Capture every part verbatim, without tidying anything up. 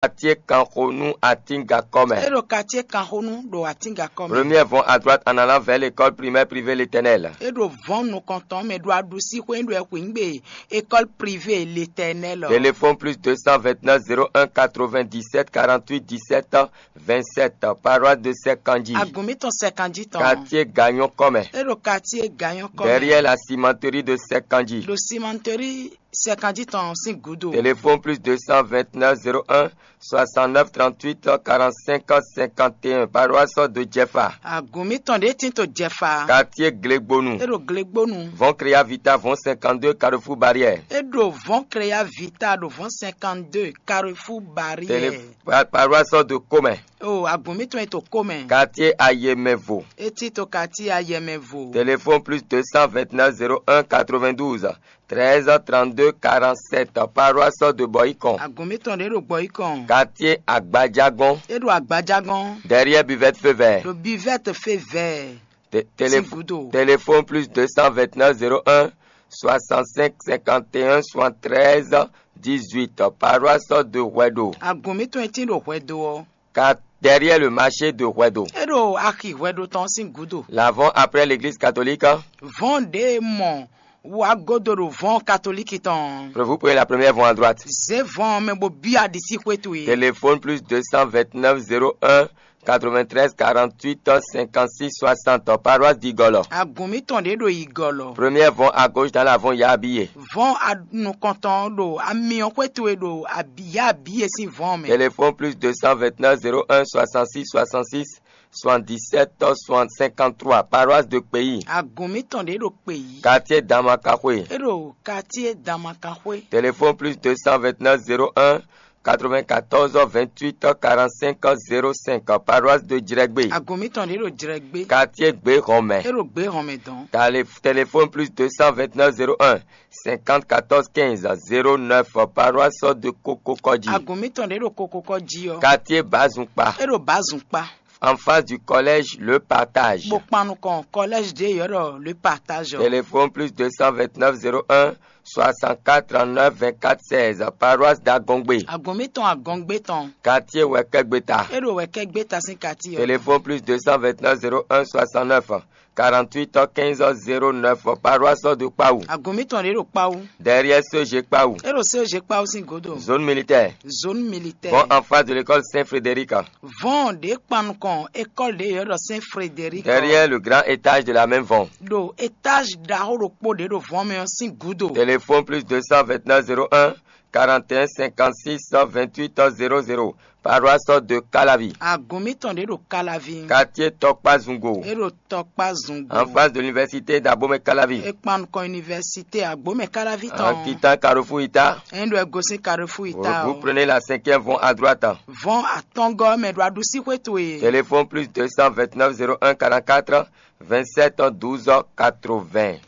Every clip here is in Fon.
Quartier Kanxonu, Atingakɔmɛ. É ɖo quartier Kanxonu ɖo Atingakɔmɛ. Première vont à droite en allant vers l'école primaire privée L'Éternel. É ɖo vɔn nukɔntɔn mɛ ɖo aɖusíxwé ɖo ɛxwǐngbe école privée L'Éternel. Téléphone plus deux cent vingt-neuf zéro un quatre-vingt-dix-sept quarante-huit dix-sept vingt-sept, paroisse de Sekanji. Agun mitɔn Sekanji tɔn. Quartier Gagnon Kɔmɛ. É ɖo quartier Gagnon Kɔmɛ. Derrière la cimenterie de Sekanji. Ɖo cimenterie Sekanji tɔn sín gúdo. Téléphone plus deux cent vingt-neuf zéro un soixante-neuf trente-huit quarante-cinq cinquante et un, paroisse de Jefa. Agun mitɔn ɖě tin to Jefa. Quartier Glegbonu. É ɖo Glegbonu. Vɔn Créa Vita, vɔn cinquante-deux, Carrefour Barrière. É ɖo vɔn Créa Vita ɖo vɔn cinquante-deux Carrefour Barrière. Télé-, pa-, paroisse de Comɛ. O agun mitɔn e to Comɛ. Quartier Ayemɛvo. É tin to quartier Ayemɛvo. Téléphone plus deux cent vingt-neuf zéro un quatre-vingt-douze treize trente-deux quarante-sept, paroisse de Boycon. Agun mitɔn ɖě ɖo Boycon. Quartier Agbadjagɔn. É ɖo Agbadjagɔn. Derrière buvette feu vert. Ɖo buvette feu vert. Té-, télé-, Sín gúdo. Téléphone plus deux cent vingt-neuf zéro un soixante-cinq cinquante et un soixante-treize dix-huit, paroisse de Hwɛdo. Agun mitɔn e tin ɖo Hwɛdo ɔ́. Car derrière le marché de Hwɛdo. É ɖo axi Hwɛdo tɔn sín gúdo. L'avant après l'église catholique. Vɔn ɖě mɔ wá godo ɖo vɔn katolíki tɔn. Vous prenez la première vont à droite. Zé vɔn mɛ bo byɔ́ aɖisí xwé towe. Téléphone plus deux cent vingt-neuf zéro un quatre-vingt-treize quarante-huit cinquante-six soixante, paroisse d'Igolo. Agun mitɔn ɖě ɖo Igolo. Première vont à gauche dans la vont Yabiye. Vɔn nukɔntɔn ɖo amyɔ xwé towe ɖo Yabiye sín vɔn mɛ. Téléphone plus deux cent vingt-neuf zéro un soixante-six soixante-six soixante-dix-sept soixante cinquante-trois, paroisse de Kpeyi. Agun mitɔn ɖě ɖo Kpeyi. Quartier Damakaxwe. É ɖo quartier Damakaxwe. Téléphone plus deux cent vingt-neuf zéro un quatre-vingt-quatorze vingt-huit quarante-cinq zéro cinq, paroisse de Djrɛgbe. Agun mitɔn ɖě ɖo Djrɛgbe. Quartier Gbehɔnmɛ. É ɖo Gbehɔnmɛ dɔn. Télé-, téléphone plus deux cent vingt-neuf zéro un cinquante-quatorze quinze zéro neuf, paroisse de Kokokɔji. Agun mitɔn ɖě ɖo Kokokɔji ɔ́. Quartier Bazunkpa. É ɖo Bazunkpa. En face du collège Le Partage. Bó kpan nukɔn collège ɖě yɔ́ ɖɔ Le Partage ɔ́. Téléphone plus deux cent vingt-neuf zéro un soixante-quatre trente-neuf vingt-quatre seize, paroisse d'Agongbe. Agun mitɔn Agɔngbe tɔn. Quartier Wɛkɛgbeta. É ɖo Wɛkɛgbeta sín quartier ɔ́. Téléphone plus deux cent vingt-neuf zéro un soixante-neuf quarante-huit quinze zéro neuf, paroisse de Kpawu. Agun mitɔn ɖě ɖo Kpawu. Derrière C E G Kpawu. É ɖo C E G Kpawu sín godo. Zone militaire. Zone militaire. Bon, en face de l'école Saint-Frédéric. Vɔn ɖě kpan nukɔn école ɖě yɔ́ ɖɔ Saint Frédéric. Derrière le grand étage de la même vente. Ɖo étage ɖaxó ɖokpó ɖě ɖo vɔn mɛ ɔ́ sín gúdo. Téléphone plus deux cent vingt-neuf zéro un quarante et un cinquante-six vingt-huit zéro zéro, paroisse de Calavi. Agun mitɔn ɖě ɖo Calavi. Quartier Tɔkpa Zungo. É ɖo Tɔkpa Zungo. En face de l'université d'Abomey Calavi. É kpan nukɔn université Agbomɛ Calavi tɔn. En quittant Carrefour Ita. É ɖo ego sín Carrefour Ita. Vous prenez la cinquième vont à droite. Vɔn atɔngɔ mɛ ɖo aɖusí xwé towe. Téléphone plus deux cent vingt-neuf zéro un quarante-quatre vingt-sept douze quatre-vingts.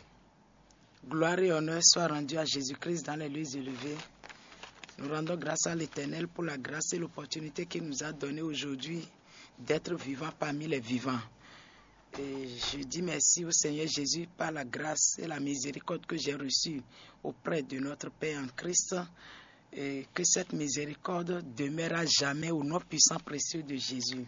Gloire et honneur soient rendus à Jésus-Christ dans les lieux élevés. Nous rendons grâce à l'Éternel pour la grâce et l'opportunité qu'il nous a donnée aujourd'hui d'être vivants parmi les vivants. Et je dis merci au Seigneur Jésus par la grâce et la miséricorde que j'ai reçue auprès de notre Père en Christ. Et que cette miséricorde demeure à jamais au nom puissant précieux de Jésus.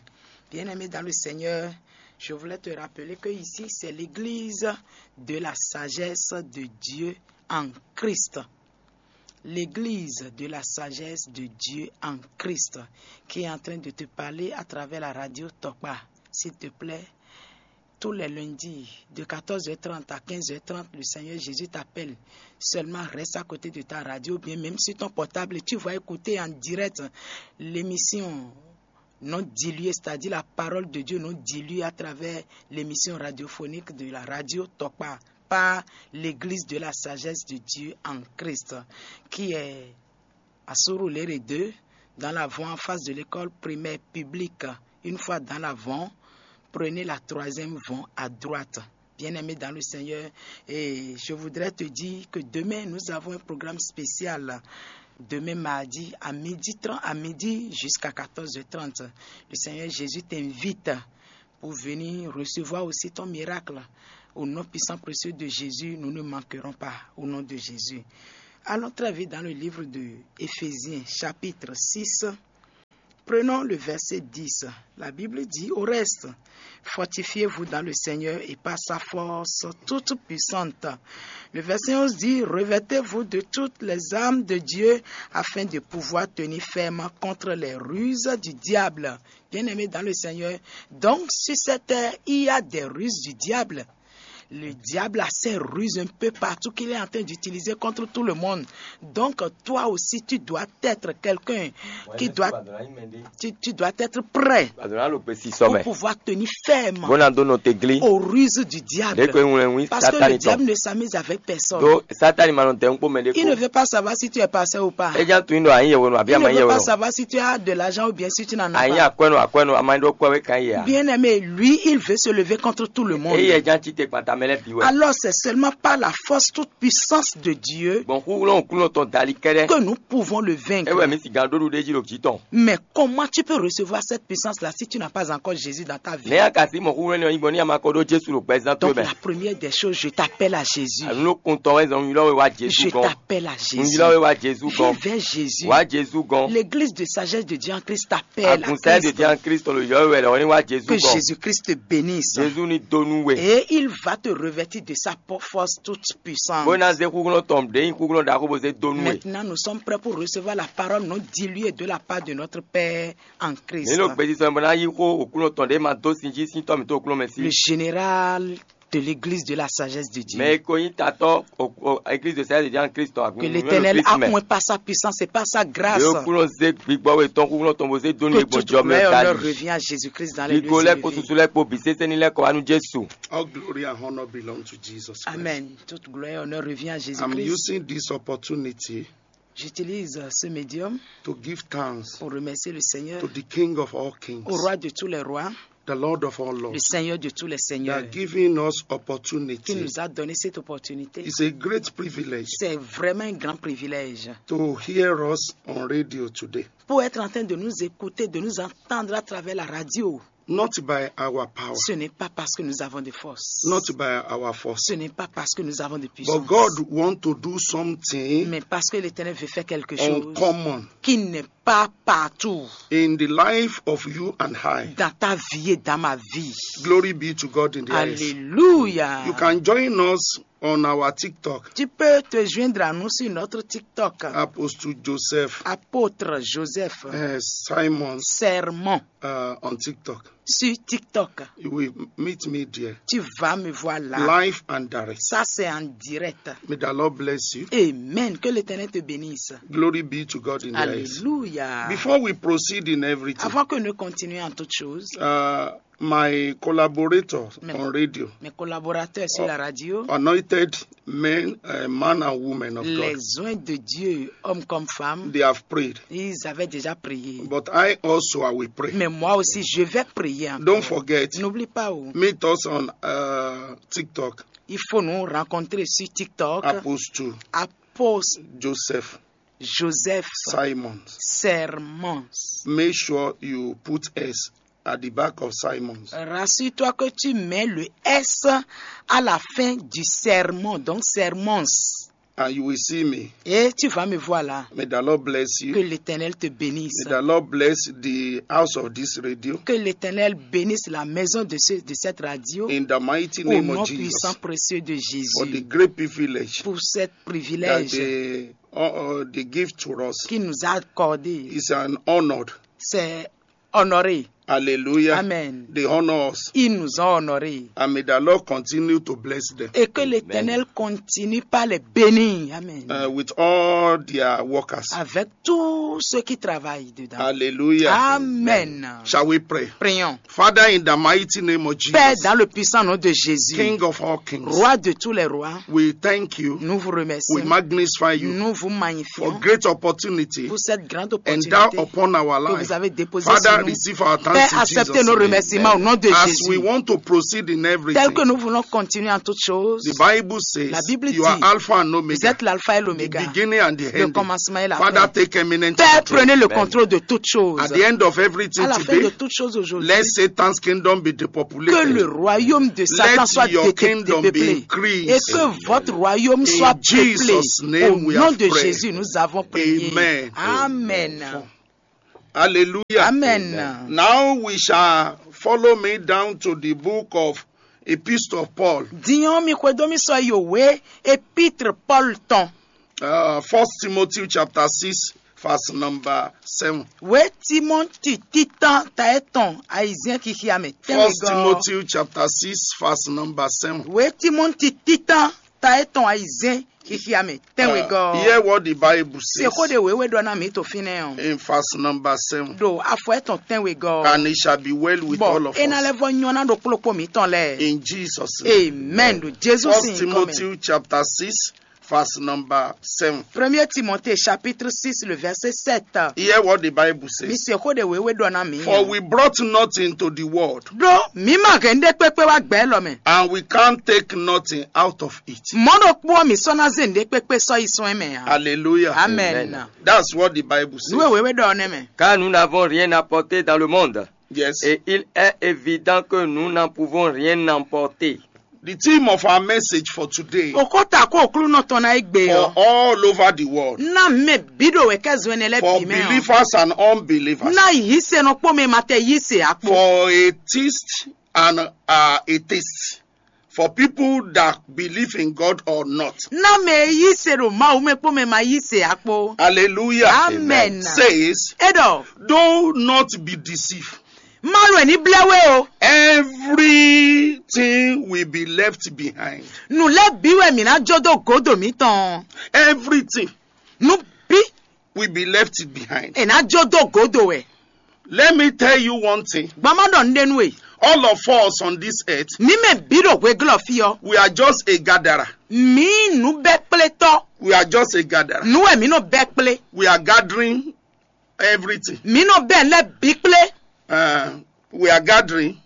Bien-aimé dans le Seigneur, je voulais te rappeler que ici, c'est l'église de la sagesse de Dieu en Christ. L'église de la sagesse de Dieu en Christ qui est en train de te parler à travers la radio Tokpa. S'il te plaît, tous les lundis, de quatorze heures trente à quinze heures trente, le Seigneur Jésus t'appelle. Seulement reste à côté de ta radio, ou bien même sur ton portable, tu vas écouter en direct l'émission non diluée, c'est-à-dire la parole de Dieu non diluée à travers l'émission radiophonique de la radio Tokpa par l'Église de la sagesse de Dieu en Christ, qui est à Surulere deux, dans la voie en face de l'école primaire publique. Une fois dans la voie, prenez la troisième voie à droite. Bien-aimé dans le Seigneur, et je voudrais te dire que demain, nous avons un programme spécial. Demain mardi, à midi trente, à midi jusqu'à quatorze heures trente, le Seigneur Jésus t'invite pour venir recevoir aussi ton miracle. Au nom puissant précieux de Jésus, nous ne manquerons pas. Au nom de Jésus. Allons très vite dans le livre de Éphésiens, chapitre six. Prenons le verset dix. La Bible dit au reste, fortifiez-vous dans le Seigneur et par sa force toute puissante. Le verset onze dit, revêtez-vous de toutes les armes de Dieu afin de pouvoir tenir ferme contre les ruses du diable. Bien-aimé dans le Seigneur, donc sur cette terre, il y a des ruses du diable. Le diable a ses ruses un peu partout qu'il est en train d'utiliser contre tout le monde. Donc, toi aussi, tu dois être quelqu'un qui doit, tu, tu dois être prêt pour pouvoir tenir ferme aux ruses du diable. Parce que le diable ne s'amuse avec personne. Il ne veut pas savoir si tu es pasteur ou pas. Il ne veut pas savoir si tu as de l'argent ou bien si tu n'en as pas. Bien-aimé, lui, il veut se lever contre tout le monde. Alors, c'est seulement par la force toute puissance de Dieu que nous pouvons le vaincre. Mais comment tu peux recevoir cette puissance-là si tu n'as pas encore Jésus dans ta vie? Donc, la première des choses, je t'appelle à Jésus. Je t'appelle à Jésus. Viens vers Jésus. L'église de sagesse de Dieu en Christ t'appelle à Christ. Que Jésus-Christ te bénisse. Et il va te revêtir de sa po-, force toute puissante. Maintenant, nous sommes prêts pour recevoir la parole non diluée de la part de notre Père en Christ. Le général de l'église de la sagesse de Dieu. Que l'Éternel accroît par sa puissance et par sa grâce. Que toute gloire et honneur revient à Jésus-Christ dans les lieux élevés. All glory and honor belong to Jesus Christ. Amen. Toute gloire et honneur revient à Jésus-Christ. I'm using this opportunity J'utilise ce médium to give thanks pour remercier le Seigneur, to the King of all kings, au roi de tous les rois, the Lord of all lords, le Seigneur de tous les seigneurs, that giving us opportunity, qui nous a donné cette opportunité. It's a great privilege. C'est vraiment un grand privilège. To hear us on radio today. Pour être en train de nous écouter, de nous entendre à travers la radio. Not by our power. Ce n'est pas parce que nous avons de force. Not by our force. Ce n'est pas parce que nous avons de puissance. But God want to do something. Mais parce que l'Éternel veut faire quelque chose, uncommon, qui n'est pas partout. In the life of you and I. Dans ta vie et dans ma vie. Glory be to God in the highest. Alléluia. You can join us on our TikTok. Tu peux te joindre à nous sur notre TikTok. Apostle Joseph. Apôtre Joseph. Uh, Simon. Sermon. Uh, on TikTok. Sur TikTok. You will meet me there. Tu vas me voir là. Live and direct. Ça, c'est en direct. May the Lord bless you. Amen. Que l'Éternel te bénisse. Glory be to God in the highest. Alléluia. Before we proceed in everything, avant que nous continuions en toute chose, uh, my collaborator on radio, mes collaborateurs sur la radio, anointed men, uh, man and women of God, les oints de Dieu, hommes comme femmes, they have prayed. Ils avaient déjà prié. But I also, I will pray. Mais moi aussi, je vais prier encore. Don't forget, n'oublie pas, oh, meet us on, uh, TikTok. Il faut nous rencontrer sur TikTok. Apostle Apostle Joseph. Joseph Simons. Sermons. Make sure you put S at the back of Simons. Rassure-toi que tu mets le S à la fin du sermon, donc Sermons. And you will see me. Et tu vas me voir là. May the Lord bless you. Que l'Éternel te bénisse. May the Lord bless the house of this radio. Que l'Éternel bénisse la maison de, ce, de cette radio. In the mighty name of Jesus. Au nom puissant, précieux de Jésus. For the great privilege. Pour ce privilège that they, uh, uh, they give to us. Qu'il nous a accordé. It's an honor. C'est honoré. Hallelujah. Amen. They honor us. Ils nous ont honorés. And may the Lord continue to bless them. Et que l'Éternel continue par les bénir. Amen. Uh, with all their workers. Avec tous ceux qui travaillent dedans. Hallelujah. Amen. Shall we pray? Prions. Father, in the mighty name of Jesus, Père, dans le puissant nom de Jésus, King of all kings, Roi de tous les rois, we thank you. Nous vous remercions. We magnify you. Nous vous magnifions. For great opportunity. Pour cette grande opportunité. Endow upon our life. Que vous avez déposée sur nous. Father, receive our thanks in Jesus' name. Père, acceptez nos remerciements au nom de Jésus. As we want to proceed in everything, tel que nous voulons continuer en toutes choses, the Bible says, la Bible dit, you are Alpha and Omega, vous êtes l'alpha et l'oméga, the beginning and the ending, le commencement et la fin. Father, take eminent control. Père, prenez le contrôle de toutes choses. At the end of everything today, à la fin de toutes choses aujourd'hui, let Satan's kingdom be depopulated. Que le royaume de Satan soit dépeuplé. Let your kingdom be increased. Et que votre royaume soit peuplé. In Jesus' name we have prayed. Au nom de Jésus, nous avons prié. Amen. Amen. Hallelujah. Amen. Now we shall follow me down to the book of Epistle of Paul. Din ɔ́, mi xwedó mì sɔ́ yi wěwé Épître Paul tɔn. Uh, First Timothy chapter six, verse number seven. Wě Timɔti títán ta etɔn ayizɛ́n xixia mɛ tɛ́nwe First gɔ́. Timothy chapter six, verse number seven. Wě Timɔti títán ta etɔn ayizɛ́n xixia mɛ tɛ́nwe Uh, gɔ́. Hear what the Bible says Sexó ɖe wěwé ɖɔ ná mǐ to fínɛ́ ɔ́. In verse number seven. Ɖo afɔ etɔn tɛ́nwe gɔ́. And it shall be well with all Bɔ of é ná us. Lɛ́ vɔ nyɔ́ ná ɖo kplɔ́kpó mǐtɔn lɛ́ɛ. In Jesus' name. Amen. Ɖo Jezu First sín nyǐkɔ mɛ. Timothy chapter six, verse number seven. Premier Timothée chapitre six, le verset sept. Hear what the Bible Mi says. sexó ɖe wěwé ɖɔ ná mǐ. For we brought nothing to the world, Ɖó mǐ ma hɛn ɖé kpékpé wá gbɛ élɔ́ mɛ. And we can't take nothing out of it. Mɔ̌ ɖokpó ɔ́, mǐ sɔ́ ná zé nǔɖé kpékpé sɔ́ yi sɔ́ ɛ mɛ ǎ. Hallelujah. Amen. That's what the Bible Nú says. wěwé ɖɔ ɔ́ nɛ́ mɛ. Car nous n'avons rien apporté dans le monde. Yes. Et il est évident que nous n'en pouvons rien emporter. The theme of our message for today Òkó ta kó òklúnɔ tɔn ná é gbe for ɔ́. All over the world. Ná mɛ bǐ ɖo wɛ kɛ́ zɔn ɛnɛ lɛ́ For bǐ mɛ ɔ́. Believers and unbelievers. Ná yí se nɔ kpó mɛ ma tɛ yí se akpó. For atheists and uh, atheists. For people that believe in God or not. Ná mɛ e yí se ɖo Mawu mɛ kpó mɛ ma yí se akpó. Hallelujah. Amen. Says, É ɖɔ, do not be deceived. má lo ẹ̀ ní blɛ́ wé o. Everything will be left behind. Nǔ lɛ́ bǐ wɛ mǐ ná jó dó gǒdo mǐtɔn. Everything Nǔ bí will be left behind. è ná jó dó gǒdo wɛ. Let me tell you one thing. Gbɔn má ɖɔ nǔɖé nú we. All of us on this earth, Mǐ mɛ bǐ ɖo hweglɔ́ fí ɔ́. We are just a gatherer. Mǐ nǔ bɛ́ kplé tɔ́. We are just a gatherer. Nǔ wɛ mǐ nɔ bɛ́ kplé. We are gathering everything. Mǐ nɔ bɛ́ lɛ́ bǐ kplé. Uh, we are gathering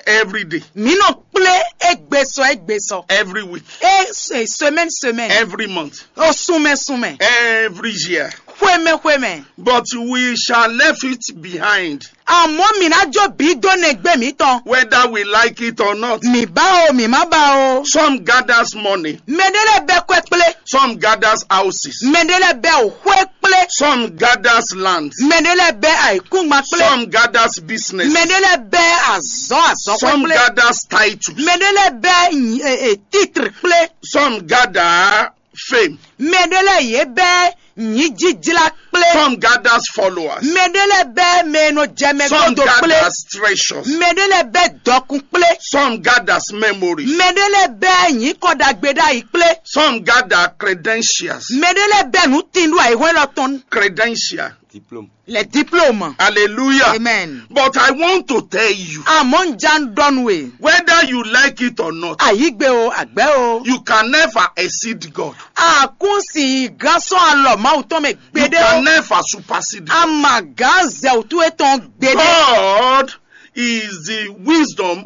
every day, Mǐ nɔ kplé égbé sɔ égbé sɔ. Every week, É se- semaine semaine. Every month, Osunmɛ sunmɛ. Every year. Xwemɛ xwemɛ. But we shall leave it behind. Àmọ́ mǐ ná jó bǐ dó nɛgbé mǐtɔn. Whether we like it or not. Mǐ bá o, mǐ má bá o. Some gathers money. Mɛɖé lɛ́ bɛ́ kwɛ́ kplé. Some gathers houses. Mɛɖé lɛ́ bɛ́ òxwé kplé. Some gathers land. Mɛɖé lɛ́ bɛ́ ayǐkúngban kplé. Some gathers business. Mɛɖé lɛ́ bɛ́ azɔ̌ azɔ̌xwé Some kplé. gathers titles. Mɛɖé lɛ́ bɛ́ nyi- e- e- titre kplé. Some gather fame. Mɛɖé lɛ́ yě bɛ́ nyǐjíjlá kplé. Some gathers followers. Mɛɖé lɛ́ bɛ́ mɛ e nɔ jɛ mɛ Some godo kplé. gathers treasures. Mɛɖé lɛ́ bɛ́ dɔkun kplé. Some gathers memories. Mɛɖé lɛ́ bɛ́ nyǐkɔ ɖagbe ɖ'ayǐ kplé. Some gather credentials. Mɛɖé lɛ́ bɛ́ nǔ tin ɖo ayǐhɔ́n élɔ́ tɔn. Credential. Diplôme. Les diplômes. Hallelujah. Amen. But I want to tell you, Àmọ́ ń já ń dɔnu e. Whether you like it or not, Àyígbe o, àgbẹ́ o. You can never exceed God. Àkúnsìn gán sɔ́n alɔ Mawu tɔn mɛ You gbédé can o. never supersede God. Àmà gán zẹ̀wùtú etɔn gbédé. God is the wisdom